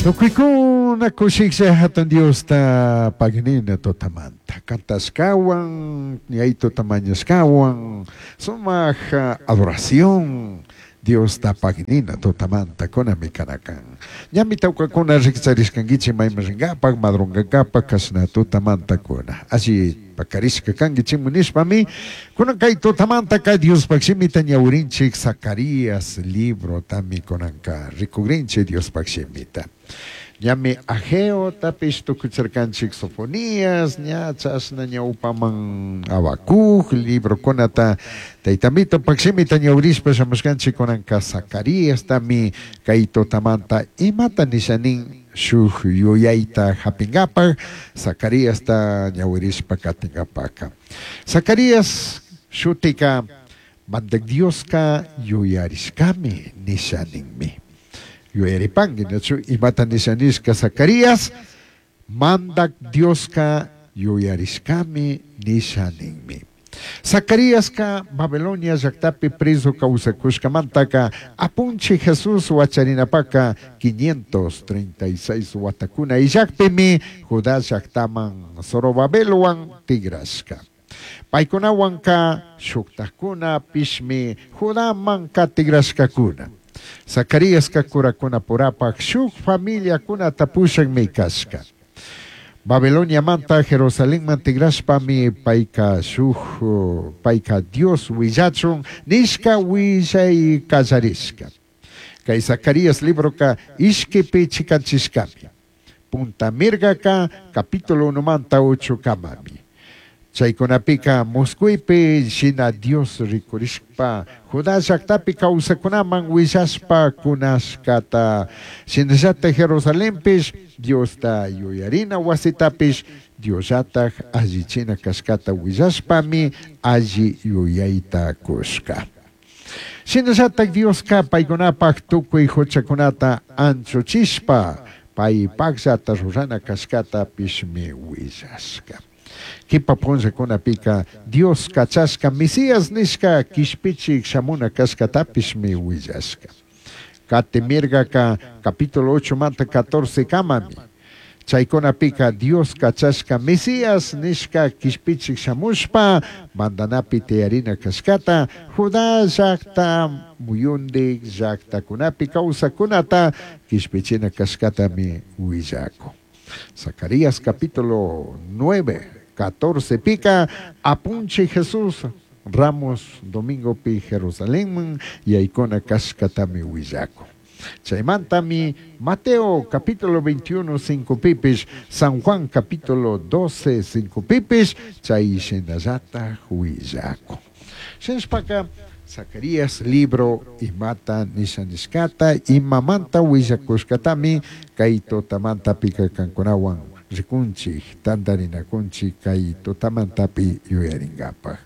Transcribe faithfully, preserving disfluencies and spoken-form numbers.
Tukuykuna kushiklla hatun Diosta paginina tutamanta kantashkawan yaytuta mañashkawan sumaq adoración Diosta paginina tutamanta kunami kanakan ñami tawkakuna rikcharishkankichik mayman rinkapak madrunkankapak kashna tutamanta kuna alli pakarishka kankichikmi nishpami kunan kay tutamantaka Diospaq shimita ñawirinchik Zacarías librotami kunanka rikukrinchik Diospaq shimita ñami Ageo tapish tukucharkanchik Sofonías ña chashna ñawpaman Habacuc librokunata taytamito shimita ñawirishpa shamushkanchik kunanka Zacariastami kay tutamanta imata nishanin shuk yuyayta hapinkapak Zacariasta ñawirishpa katinkapaka Zacarías shutika Mandak Dioska yuyarishkami nishaninmi yuyaripanki nachu imata nishanishka Zacarías Mandak Dioska yuyarishkami nishaninmi Zacariaska Babilonia llaktapi preso kawsakushkamantaka Apunchik Jesús wacharinapaka quinientos treinta y seis watakuna illakpimi Judá llaktaman Zorobabelwan tigrashka. Paykunawanka shuktakuna pishmi Judamanka tigrashkakuna. Zacariaska kurakuna purapak shuk familiakunata pushakmi kashka. Babiloniamanta Jerusalenman tigrashpami payka shuk payka Dios willachun nishka willay kallarishka. Kay Zacarías libroka ishkipi chikanchishkami. Punta mirgaka capítulo unomanta ocho kamami. Chaykunapika Moscuipi shina Dios rikurishpa Judá llaktapi kawsakunaman willashpa kunashkata shinallata Jerusalenpish Diosta yuyarina wasitapish Diosllataj allichina kashkata willashpami alli yuyayta kushka. Shinallata Dioska paykunapaj tukuy huchakunata anchuchishpa paypakllata rurana kashkatapishmi willashka. Kipa punllakunapika Dios kachashka Mesías nishka kishpichik shamuna kashkatapishmi willashka. Katimirgaka capítulo ocho manta catorce kamami. Chaykunapika Dios kachashka Mesías nishka kishpichik shamushpa mandanapi tiyarina kashkata Judá llakta muyundik llaktakunapi kawsakunata kishpichina kashkatami willakun. Zacarías capítulo nueve, catorce pica, Apunche Jesús Ramos Domingo pi Jerusalén yaykuna kashkatami willakun. Chaymantami Mateo capítulo veintiuno, cinco pipish, San Juan capítulo doce, cinco pipish, chay shinallata willakun. Shinashpaka Zacarías libro imata nishanishkata imamanta willakushkatami kay tutamanta pika kankunawan rikunchik tantarinakunchik kay tutamantapi yuyarinkapak.